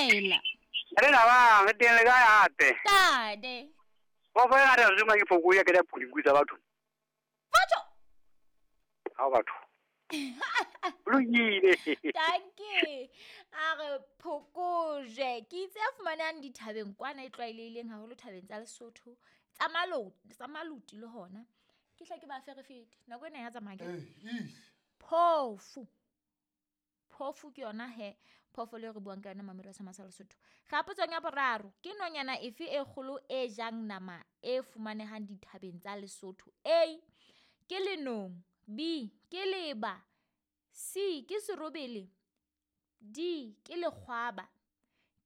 Dumela. Re na ba re teng le kae hape? Tate. Ba fa ya re zuma ke phoko ya ke da phulinku tsa batho. Batho. Ha batho. Lokile. Danke. A re phokoje. Ke itse a fumanang dithabeng kwana e tlwaelehileng haholo thabeng tsa Lesotho. Tsa maloti, tsa maluti le hona. Ke hle ke ba ferefete. Nako ena ya tsamaya ke. Phofu. Phofu ke yona he phoofolo e re buang ka yona mamelo sa masa Lesotho. Ga potsong ya boraro, ke nonyana efe e kgolo e jang nama e fumanehang dithabeng tsa Lesotho? A, ke lenong, B, ke leba, C, ke serobele, D, ke lekgwaba.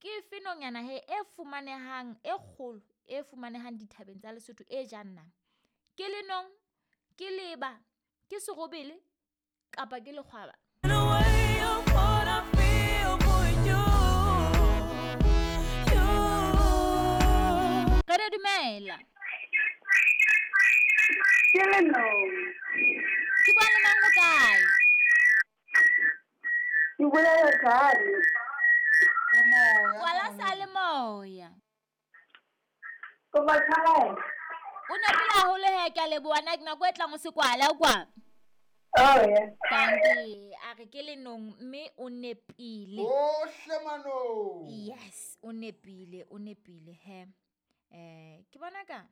Ke efe nonyana he e fumanehang e kgolo e fumanehang dithabeng tsa Lesotho e jang nama? Ke lenong, ke leba, ke serobele kapa ke lekgwaba? Re re dumela. Ke lenong. Ke bua le mang o kae? Ke bolela jalo. Kwala sa le moya. Kopa tshwarelo. O nepile haholo he, ke a leboha. Na nako e tlang o se kwala kwa. Oh yeah. Danke. A re ke lenong mme o nepile. Ohle manong. Yes, o nepile, o nepile he. Ke bona ka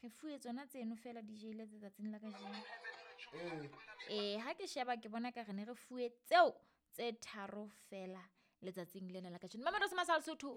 re fuwe tsona tseno fela di jele tsatsing la kajeno. Ha ke sheba ke bona ka re ne re fuwe tseo tse tharo fela letsatsing lena la kajeno. Mamelo se masal Sotho.